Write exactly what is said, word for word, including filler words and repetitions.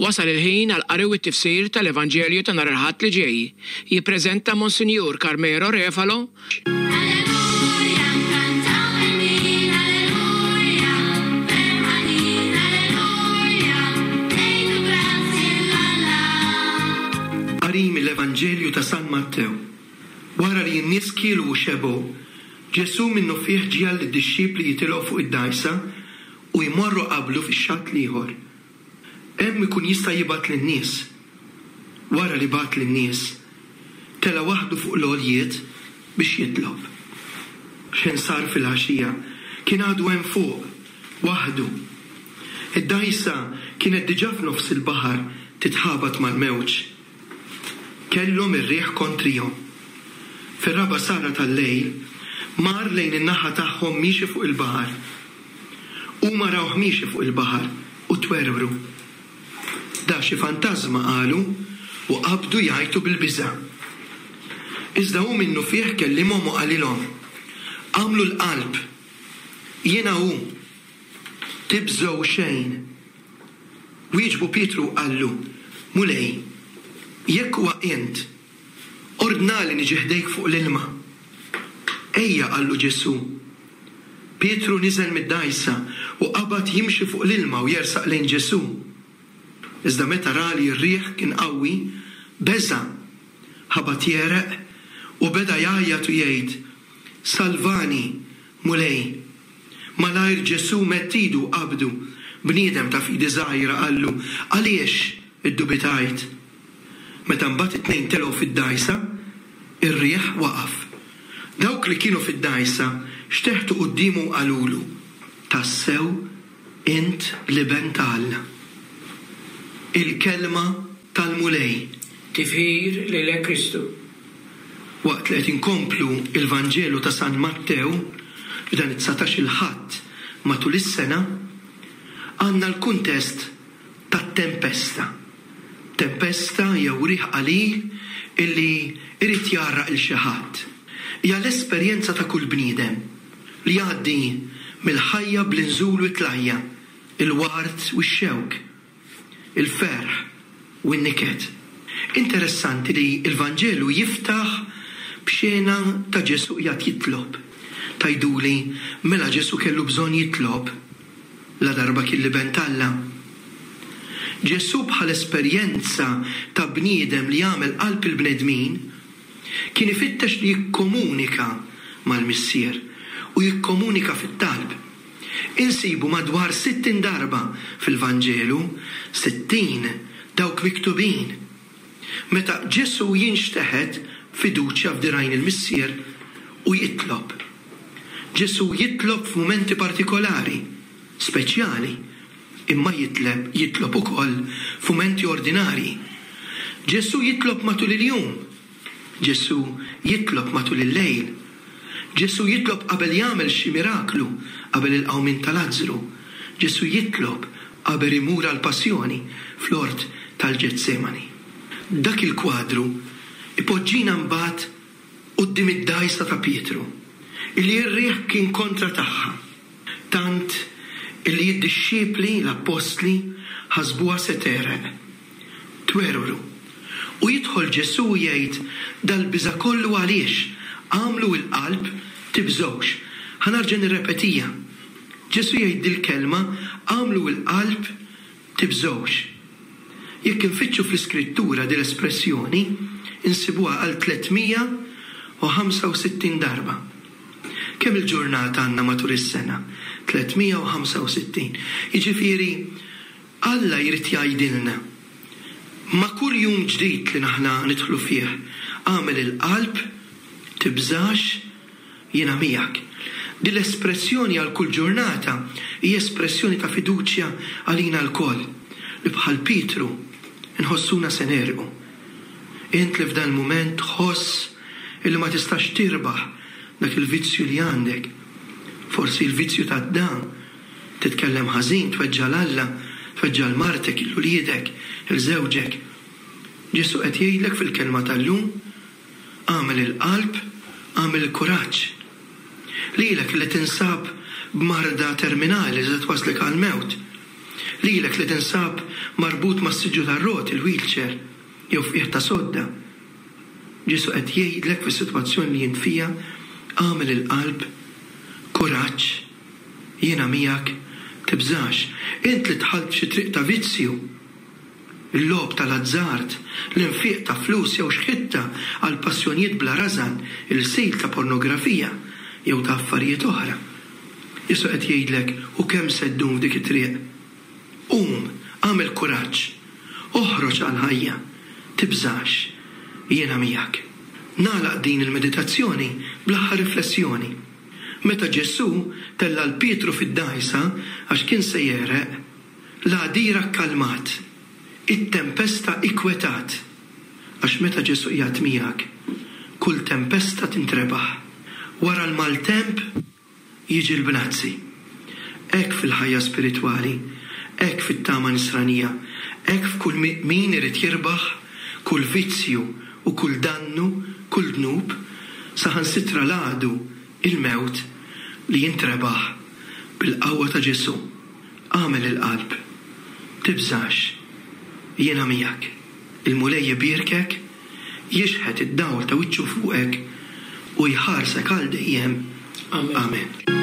Wasal il-ħin għal qari u t-tifsir tal-Evanġelju ta' nhar il-Ħadd li ġej. Jippreżenta Monsinjur Carmelo Refalo. Alleluja, nkantaw il-min, alleluja, ferħanin, alleluja, ngħidu grazzi 'l Alla. Qari mill-Evanġelju ta' San Mattew. Wara li n-nies kielu u xebgħu, Ġesù minnufih ġiegħel lid-dixxipli jitilgħu fuq id-dgħajsa u jmorru qablu fix-xatt l-ieħor. Hemm ikun jista' jibgħat lin-nies. Wara li bagħat lin-nies, tela' waħdu fuq l-għoljiet biex jitlob. X'ħin sar fil-għaxija, kien għadu hemm fuq, waħdu. Id-dgħajsa kienet diġà f'nofs il-baħar titħabat mal-mewġ. Kellhom ir-riħ kontrihom. Fir-raba' sagħa tal-lejl, mar lejn in-naħa tagħhom miexi fuq il-baħar. Huma rawh miexi fuq il-baħar u twerwru. Da xi fantażma, qalu, u qabdu jgħajtu bil-biża'. Iżda hu minnufih kellimhom u qalilhom: Agħmlu l-qalb, jiena hu, tibżgħu xejn. Wieġbu Pietru u qallu: Mulej, jekk huwa int, ordnali niġi ħdejk fuq l-ilma. Ejja, qallu Ġesù. Pietru niżel mid-dgħajsa u qabad jimxi fuq l-ilma u jersaq lejn Ġesù. Iżda meta ra li r-riħ kien qawwi, beża', ħabat jegħreq u beda jgħajjat u jgħid: Salvani, Mulej. Malajr Ġesù medd idu u qabdu. Bniedem ta' fidi żgħira, qallu, għaliex iddubitajt? Meta mbagħad it-tnejn telgħu fid-dgħajsa, ir-riħ waqaf. Dawk li kienu fid-dgħajsa xteħtu quddiemu u qalulu: Tassew int l-Iben ta' Alla. Il-kelma tal-Mulej. Tifħir lilek Kristu. Waqt li qed inkomplu il-Vanġelu ta' San Mattew f'dan it-dsatax il-Ħadd matul is-sena, għandna l-kuntest tat-tempesta. Tempesta jew riħ qalil illi irid jgħarraq il xi ħadd. Hija l-esperjenza ta' kull bniedem li jgħaddi mill-ħajja bl-inżul u t-tlajja, il-ward u x-xewk, il-ferħ u n-niket. Interessanti li l-Vanġelu jiftaħ b'xena ta' Ġesù qiegħed jitlob. Tgħiduli, mela Ġesù kellu bżonn jitlob la darba kien l-Iben t'Alla. Ġesù bħal esperjenza ta' bniedem li jagħmel qalb il-bnedmin kien ifittex li jikkomunika mal-Missier u jikkomunika fit-talb. Insibu madwar sittin darba fil-Vanġelu, sittin dawk miktubin. Meta Ġesù jinxteħet fiduċja f'dirajn il-Missier u jitlob. Ġesù jitlob f'mumenti partikolari, speċjali, imma jitleb, jitlob ukoll f'mumenti ordinarji. Ġesù jitlob matul il-jum. Ġesù jitlob matul il-lejl. Ġesù jitlob qabel jagħmel xi miraklu, qabel il-qawmien ta' Lazzru. Ġesù jitlob qabel imur għall-passjoni fl-ort tal-Ġetsemani. Dak il-kwadru ipoġġina mbagħad quddiem id-dgħajsa ta' Pietru, illi r-riħ kien kontra tagħha, tant illi d-dixxipli, l-appostli, ħasbuha se tegħreq. Twerwru. U jidħol Ġesù u jgħid: dal-biża' kollu għaliex? Għamlu l-qalb, tibżgħux. Ħa nerġa' nirrepetija. Ġesù jgħid dil-kelma: għamlu l-qalb, tibżgħux. Jekk infittxu fl-Iskrittura dil-espressjoni, insibuha għal tliet mija u ħamsa u sittin darba. Kemm il-ġurnata għandna matul is-sena? tliet mija u ħamsa u sittin. Jiġifieri, Alla jrid jgħidilna ma' kull jum ġdid li naħna nidħlu fih, għamel il-qalb, tibżax, jiena miegħek. Din l-espressjoni għal kull ġurnata hija espressjoni ta' fiduċja għalina lkoll, li bħal Pietru nħossuna se negħrqu. Int li f'dan il-mument tħoss illi ma tistax tirbaħ dak il-vizzju li għandek, forsi il-vizzju ta' dan, titkellem ħażin, tweġġa' 'l Alla, tweġġa' 'l martek, 'il uliedek, 'il żewġek. Ġesù qed jgħidlek fil-kelma tal-lum: għamel il-qalb, għamel il-kuraġġ. Lilek li tinsab b'marda terminali li twaslek għal-mewt. Lilek li tinsab marbut mas-siġġu tar-roti, il-wheelchair, jew f'qiegħ ta' sodda. Ġesù qed jgħidlek fis-sitwazzjoni li int fiha, agħmel il-qalb, kuraġġ, jiena miegħek, tibżax. Int li dħalt f'xi triq ta' vizzju, il-logħob tal-azzard, l-infiq ta' flus jew xħitta għal passjonijiet bla rażan, il-sil ta' pornografija jew ta' affarijiet oħra. Ġesù qed jgħidlek, u kemm se ddum f'dik it-triq? Qum, agħmel kuraġġ, oħroġ għall-ħajja, tibżax, jiena miegħek. Nagħlaq din il-meditazzjoni bl-aħħar riflessjoni. Meta Ġesù tella' 'l Pietru fid-dgħajsa għax kien se jegħreq, l-għadira kkalmat, it-tempesta ikkwetat. Għax meta Ġesù qiegħed miegħek, kull tempesta tintrebaħ. Wara l-maltemp jiġi l-bnazzi. Hekk fil-ħajja spiritwali, hekk fit-tama nisranija, hekk f'kull min irid jirbaħ kull vizzju u kull dannu, kull dnub, saħansitra l-għadu, il-mewt, li jintrebaħ bil-qawwa ta' Ġesù. Agħmel il-qalb, tibżax, jiena miegħek. Il-Mulej jbierkek, jixħet id-dawl ta' wiċċu fuqek u jħarsek għal dejjem. Amen. Amen.